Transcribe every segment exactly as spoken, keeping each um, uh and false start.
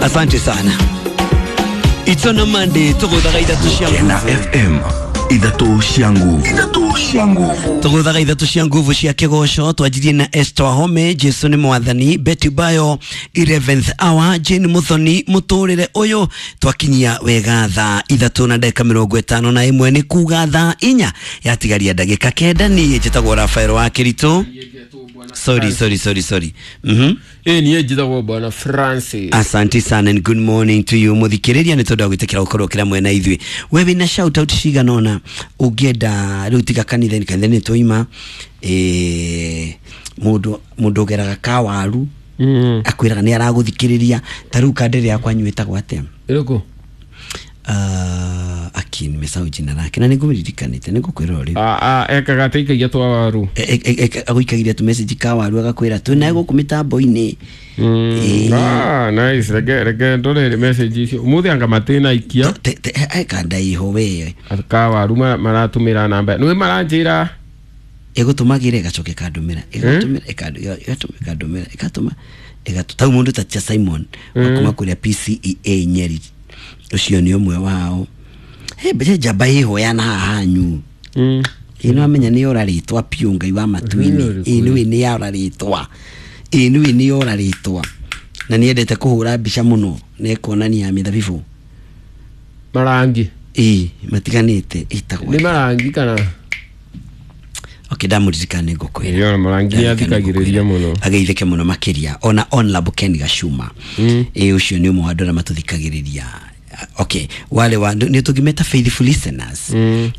Asante sana. It's on a Monday tuguthaga ithatu cia Kena nguvu. F M ithatu cia nguvu, ithatu cia nguvu, tuguthaga ithatu cia nguvu cia kigoco. Twanjirie na Esther Wahome, Jesu ni mwathani, Betty Bayo, eleventh hour, Jane Muthoni, muturire uyu. Twakinyia wega thaa ithatu na ndagika mirongo itano na imwe, ni kuga thaa inya yatigaria ndagika kenda. Ni njitagwo Rafael wa Kiritu. Sorry, sorry, sorry, sorry. Mhm. Eh, niĩ njĩtagwo Bwana Francis. Asante sana and good morning to you muthikiriria, ni tondu wa gwitikira gukorwo kira mwena ithuĩ. We wina shout out cigana ona ũngĩenda rĩu tiga kanitha-inĩ, kanitha-inĩ twaima eh mundu mundu ũgeraga kawaru Mm. akwĩraga nĩ aragũthikĩrĩria. Ta rĩu kandĩrĩ yakwa nyuĩtagwo atĩa? Ĩrĩkũ? Uh, aki nimesahau jina lake na nĩngũmĩririkanĩte, nĩngũkwĩra rĩu. Ah, ah, ekaga atĩ aikagia twa waru. Agũikagiria tu message kawaru agakwĩra twĩ nawe gũkũ mĩtambo-inĩ. Mm. Eh. Ah, nice. Reke reke ndore message icio. Umuthi anga matina ikia. Kandaiho we Kawaru maratũmĩra namba. Nĩ maranjĩra ĩgũtũmagĩra ĩgacoka ĩkandũmĩra, ĩgatũmĩra ĩkandũmĩra ĩgatũma ĩgatũ tau mũndũ ta tia Simon wakuma kũrĩa P C E A Nyeri, ũcio nĩ ũmwe wao. He mbeca njamba ĩhoyana haha hanyu. Mm. Ĩ nĩ wamenya nĩ yora rĩtwa piũ Ngai wa matu-inĩ. Ĩ nĩwe nĩ yora rĩtwa, ĩ nĩwe nĩ yora rĩtwa, na nĩ endete kũhũra mbica mũno na ĩkonania mĩthabibũ marangi ĩ matiganĩte ĩtagwo nĩ marangi kana okay, ndamuririkana nĩ ngũkwĩra. Yora marangi nĩ athikagĩrĩria mũno, ageithĩke mũno makĩria. Ona Onlab Ken Gacuma ĩ ũcio nĩ ũmwe wa andũ arĩa matũthikagĩrĩria. Okay, wale wa nĩ tũngĩmeta faithful listeners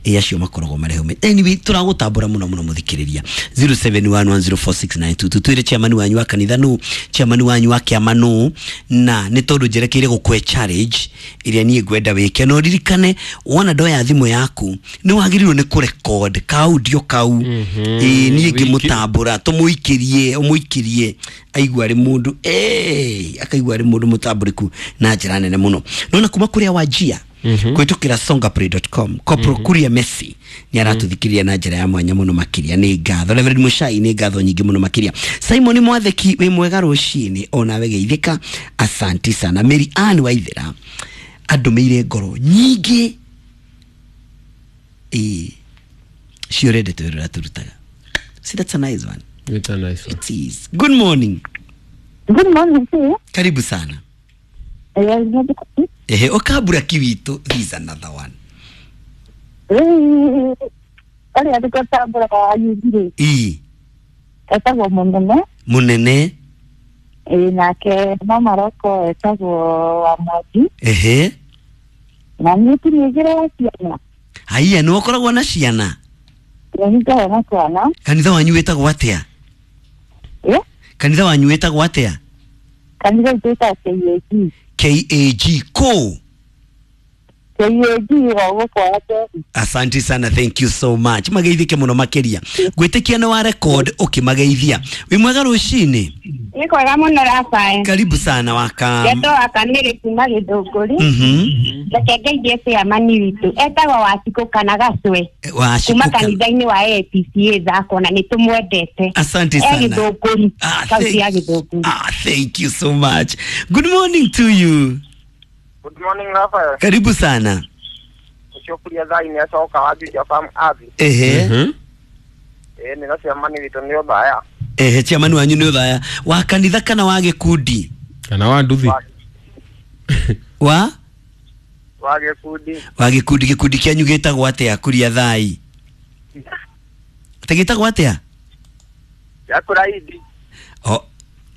ĩ acio makoragwo marĩ hau. Anyway, tũragũtambũra mũno mũno mũthikĩrĩria. zero seven one one zero four six nine two two. Twĩre chairman wanyu wa kanitha nũ, chairman wanyu wa kĩama nũ, na nĩ tondũ njerekeire gũkũhe challenge ĩrĩa niĩ ngwenda wĩke. No ririkane wona ndoya thimũ yaku nĩ wagĩrĩirwo nĩ kũrecord ka audio kau. Ĩ niĩ ngĩmũtambũra tũmũikĩrie, ũmũikĩrie aigua arĩ mũndũ eh akaigua arĩ mũndũ mũtambũrĩku na njĩra nene mũno. Nona kuma kuria wajia kwitukira songaplay dot com Kopro mm -hmm. Kuria Messi ni aratuthikiria na njira ya mwanya muno makiria, ni ngatho. Reverend Mushai ni ngatho nyingi muno makiria. Simon Mwatheki wi mwega rucini ona we geithika, asanti sana. Mary Ann Waithera andumiire ngoro nyingi eh ciorende twirura turutaga. See, that's a nice one. It's a nice one. It is. Good morning. Good morning sir. Karibu sana. Ehe, okabura kiwito, this is another one. Eh, ari atukatambura ayugire. Eh. Etagwo munene. Munene. Eh, nake mama roko etagwo wa Mwangi. Ehe. Na ni tinigire ciana. Haiya, ni ukoragwo na ciana? Ni ngikoragwo na ciana. Kanitha wanyu wetagwo atia? Eh? Kanitha wanyu wetagwo atia? Kanitha wetagwo K A G. K A G ko K A G wa kwa. Asante sana, thank you so much. Mageithike muno makiria. Gwitikia ni wa record ukimageithia. Wi mwega rucini? Ni kwega muno Rafael. Karibu sana waka. Ngeto akanire kuma Githunguri. Mhm. Reke ngeithie chairman witu. Etagwo Wacikũ kana Gacwe. Wacikũ. Kuma kanitha-inĩ wa A P C A thako na nitumwendete. Asante sana. E Githunguri. Ah, Kaunti ya Githunguri. Ah, thank you so much. Good morning to you. Good morning Rafael. Karibu sana. Ucio thai ni acoka wa Juja Farm Abbey. Ehe. Mhm. Eh, ni chairman witu ni uthaya. Ehe, chairman wanyu ni uthaya. Wa kanitha kana wa gikundi? Kana wa nduthi? Wa? Wa gikundi. Wa gikundi, gikundi kianyu gitagwo atia kuria thai? Ate gitagwo atia? Ya kuraidi. Oh,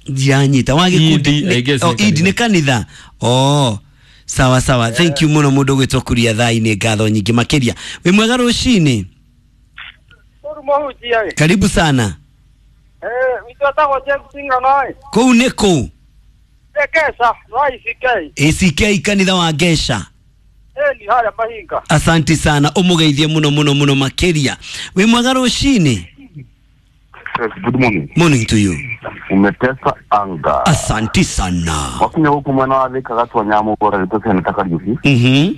ndianyita wa gikundi. Oh, idi ni kanitha. Oh. Sawa sawa, thank you muno mundu gwitwo kuria thai ni ngatho nyingi makiria. Wi mwega rucini? Karibu sana. Eh, witũ etagwo James Ng'ano. Kũu nĩ kũ? Gesha, wa A C K. A C K kanitha wa Gesha. Eh, ni harĩa Mahinga. Asante sana, umugeithie muno muno muno makiria. Wi mwega rucini? Good morning. Morning to you. Umetesa anga. Asante sana. Wakinya huku mwana wa thika gatwa nyamu bora nitoke nataka yuhi. Mhm.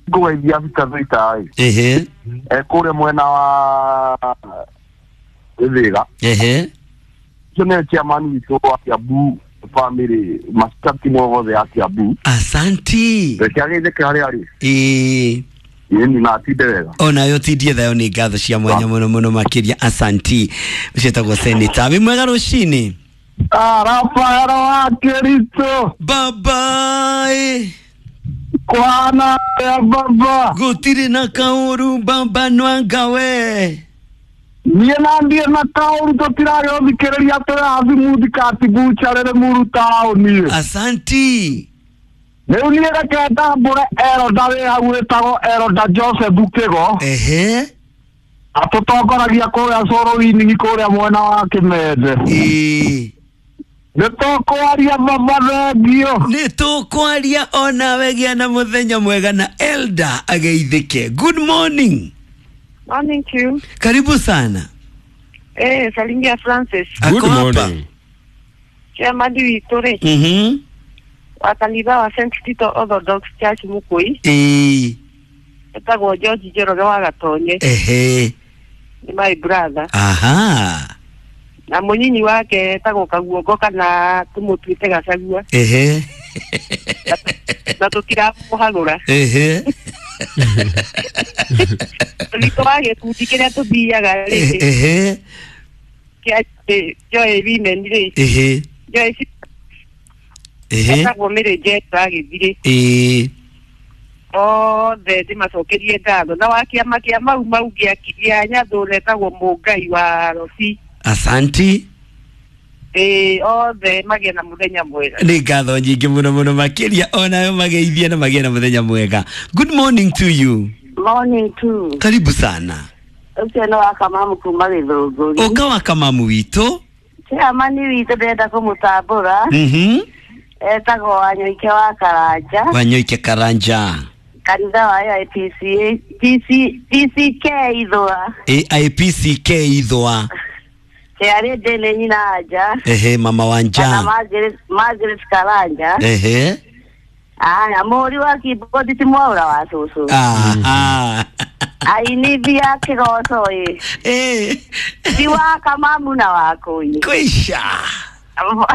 Go idea vita vita. Ehe. Eh, kule mwena wa Thika. Ehe. Kene chairman witu wa Kiambu Family mashabiki mothe ya Kiambu. Asanti. Reke ageithĩke harĩa arĩ. Ĩĩ. Ĩni na atinde wega. Onayo tindie thayo nĩ ngatho cia mwanya mũno mũno makĩria asanti. Ũcio etagwo Senator. Wĩ mwega rũcinĩ. Rafael wa Kericho. Bye bye. Kwana ya baba. Gũtirĩ na kaũru baba nwangawe. Niĩ na ndiĩ na kaũru tũtiragĩũthikĩrĩria tũrathi muthikati bucha rĩrĩ muru taũni. Asanti. Rĩu niĩ reke ndambũre Elda wĩ hau wĩtagwo Elda Joseph Kĩgo. Ehe. Atũtongoragia kũrĩa Cũrũ-inĩ kũrĩa mwena wa Kĩmende. Ĩĩ. Nĩ tũkwaria baba thengio. Nĩ tũkwaria onawe gĩa na mũthenya mwega na Elda ageithĩke. Good morning. Morning to you. Karibu sana. Eh, salimia Francis. Good Ako hapa. morning. Chairman witũ rĩ, Mhm. wa kanitha wa Saint Tito Orthodox Church Mukui, Ĩĩ. etagwo George Njoroge wa Gatonye, Ehe. ni my brother. Aha. Na mũnyinyi wake etagwo Kaguongo kana tũmũtuĩte Gacagua, Ehe. na tũtiramũhagũra. Ehe. Witũ wa gĩkundi kĩrĩa tũthiaga rĩ, Ehe. kĩa Joy Women rĩ, Ehe. Joy Ehe. etagwo Mary Jane wa Gĩthirĩ. Ĩĩ. Othe ndĩmacokerie ngatho na wa kĩama kĩa mau mau gĩa gĩa Nyathũra etagwo Mũngai wa Robi. Asanti. Ĩĩ, othe magĩe na mũthenya mwega. Nĩ ngatho nyingĩ mũno mũno makĩria onayo mageithie na magĩe na mũthenya mwega. Good morning to you. Morning too. Karibu sana. Ũcio nĩ wa Kamamu kuma Gĩthũngũri. Ũka wa Kamamu witũ. Chairman witũ ndĩrenda kũmũtambũra. Mhm. Etagwo Wanyoike wa Karanja. Wanyoike Karanja. Kanitha wa A I P C A T C T C K Ithũa. A I P C K Ithũa. Kĩarĩ ndĩ nyina anja. Ehe, mama Kana wanja. Margaret Margaret Karanja. Ehe. Aya, mũhũri wa keyboard ti Mwaũra wa cũcũ. Aha. Ainithia kĩgoco ĩ. Eh. Ti wa Kamamu na wa Kũi. Kwisha. Hau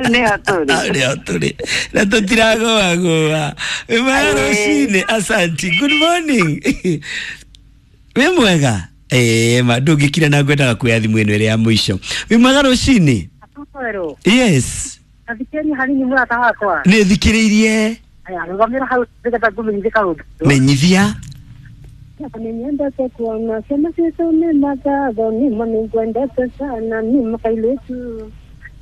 nĩho tũrĩ. Hau nĩho tũrĩ na tũtiragoagoa. Wĩ mwega rũcinĩ. Asanti. Good morning. Wĩ mwega. Ĩĩ ma ndũngĩkira na ngwendaga kuoya thimũ ĩno ĩrĩa ya mũico. Wĩ mwega rũcinĩ. Yes. Athikĩrĩria hanini mũrata wakwa. Nĩ thikĩrĩirie. Aya, rũgamĩra hau nĩgetha ngũmenyithie kaũndũ. Menyithia. Nĩnyendete kuona ciana citũ nĩ mathatho nĩma nĩngwendete sana nĩma kairĩtu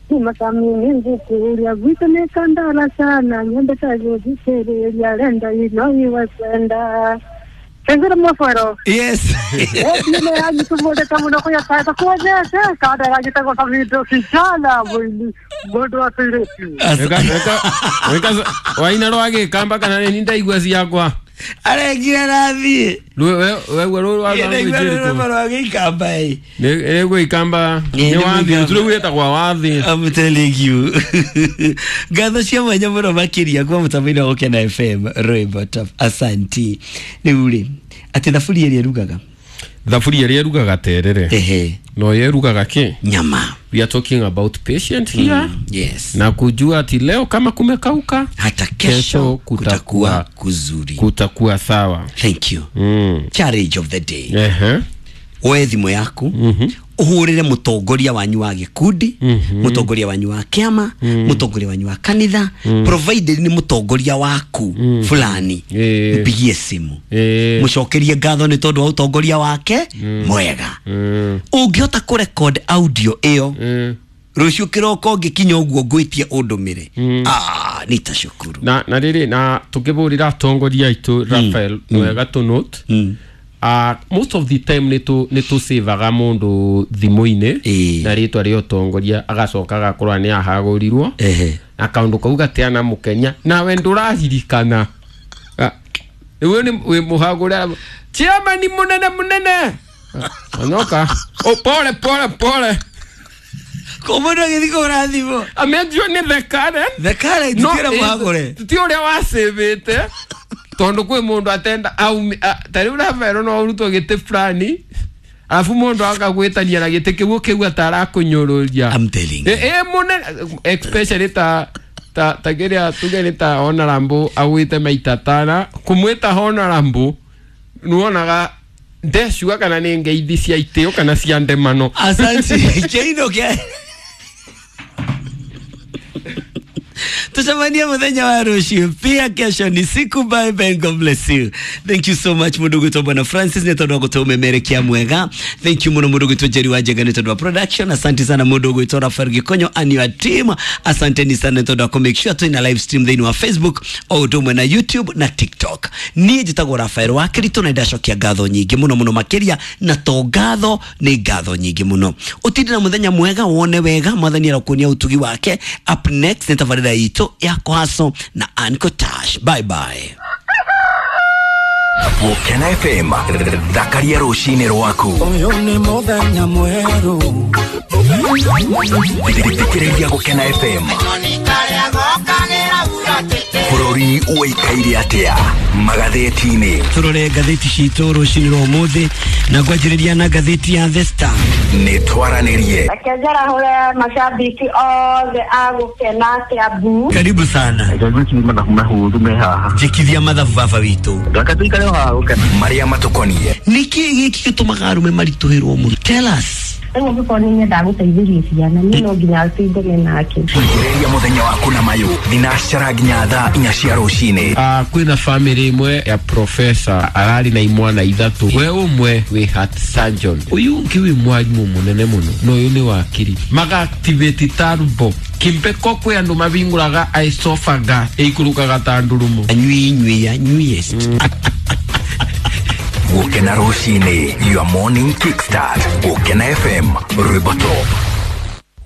nĩma sami nĩngũkũria gwitũ nĩ kandara sana nyendete gũthikĩrĩria renda ino iwe kwenda Tengera mwafaro. Yes. Nime yanyu muno kuya kata kuonyesha kada yanyu savido kijana mwini mundu wa kairĩtu. Weka weka weka waina rwa gĩkamba kana nĩ ndaigua ciakwa. Aregire rathiĩ. Wewe rũrũ rwa rwĩmbo rwa gĩikamba ĩ. Nĩ gwĩkamba Ĩ, nĩ nĩ wathi Mũikamba. tũrĩ gwĩtagwa wathi. I'm telling you. Ngatho cia mwanya mũno makĩria kuma mũtambo-inĩ wa Gũkena F M rwĩmbo top. Asanti. Rĩu rĩ, atĩ thaburia ĩrĩa ĩrugaga. Thaburia ĩrĩa ĩrugaga terere Ehe. no ĩrugaga kĩ? Nyama. We are talking about patient here. Mm, yes. Na kujua ati leo kama kumekauka hata kesho kesho kutakuwa kutakuwa kuzuri. Kutakuwa sawa. Thank you. Mm. Challenge of the day. Ehe. Oe thimũ yaku ũhũrĩre mũtongoria wanyu wa gĩkundi, mũtongoria wanyu wa kĩama, mũtongoria wanyu wa kanitha, provided nĩ mũtongoria waku fulani. Ĩĩ. Mpigie simu, Ĩĩ. mũcokerie ngatho nĩ tondũ wa ũtongoria wake mwega. Mm. Ũngĩhota kũrecord audio ĩyo, Mm. rũciũ kĩroko ngĩkinya ũguo ngwĩtie ũndũmĩre, ah, nitashukuru. Na na rĩrĩ na tũkĩbũrĩra atongoria aitũ Raphael wega tũ note. Mm. Uh, most of the time nĩ tũ nĩ tũsavaga mũndũ thimũ-inĩ Ĩĩ. na rĩtwa rĩa ũtongoria agacoka agakorwo nĩ ahagũrirwo Ehe. na kaũndũ kau gatiana mũkenya nawe ndũraririkana. Ah, rĩu nĩ wĩ mũhagũre chairman mũnene mũnene. Ah, onyoka oh, pole pole pole. Ko mũndũ agĩthiĩ kũhũra thimũ amenjio nĩ the current. The current No, ti ũrĩa mũhagũre. ti ũrĩa wacĩvĩte tondũ kwĩ mũndũ atenda aumi a- ta rĩu Rafael no ũrutwo gĩtĩ fulani. Alafu mundu akagwitania na gĩtĩ kĩu ũkĩigua ta arakũnyũrũria. I'm telling you. Eh, eh, mũnene especially ta ta ta kĩrĩa tuge nĩ ta honorable agwĩte maita tana kũmwĩta honorable nĩwonaga ndeciuga kana nĩ ngeithi cia itĩo kana cia ndemano. Asante. Kĩino kĩa tucemanie muthenya wa rucio pia. Kesho ni siku. Bye bye, God bless you. Thank you so much mundu gwitwo Bwana Francis nĩ tondũ wa gũtũmemerekia mwega. Thank you muno mundu gwitwo Jerry wa Njega nĩ tondũ wa production. Asante sana mundu gwitwo Rafael Gikonyo and your team. Asanteni sana nĩ tondũ wa kũ make sure twĩna live stream thĩinĩ wa Facebook o ũndũ ũmwe na YouTube na TikTok. Niĩ njĩtagwo Rafael wa Kirito na ndacokia ngatho nyingĩ mũno mũno makĩria, na to ngatho nĩ ngatho nyingĩ mũno. Ũtinde na mũthenya mwega, wone wega, mwathani arokuonia ũtugi wake. Up next nĩ tabarĩra itũ ya Kwaso na Anko Tash. Bye bye. Gũkena F M thakaria rũcinĩ rwaku. Ũyũ nĩ mũthenya mwerũ. Thikĩrĩria Gũkena F M. Bũrũri ũikaire atĩa magathĩti-inĩ? Tũrore ngathĩti citũ rũcinĩ rwa ũmũthĩ na ngwanjĩrĩria na ngathĩti ya The Star. Nĩ twaranĩrie. Reke njarahũre mashabiki othe a Gũkena Kiambu. Karibu sana. Njĩkithia mathabu baba witũ. Marĩa matũkoniĩ. Nĩkĩ gĩkĩ gĩtũmaga arũme maritũhĩrwo mũno? Tell us. Rĩu angĩkorwo nĩ nyendaga gũteithĩria ciana, niĩ no nginya tũingane nake. Thikĩrĩria mũthenya waku na mayũ thinacara nginya thaa inya cia rũcinĩ. Ah, kwĩna family ĩmwe ya professor ararĩ na imwana ithatũ, we ũmwe wĩ heart surgeon, ũyũ ũngĩ wĩ mwarimũ mũnene mũno, na ũyũ nĩ wakiri. Maga activate turbo kimpeko kwĩ andũ mabingũraga esophagus ĩikũrũkaga ta ndurumo. Anyui nyui anyuiest. Gũkena rũcinĩ, your morning kickstart. Gũkena F M, rwĩmbo top.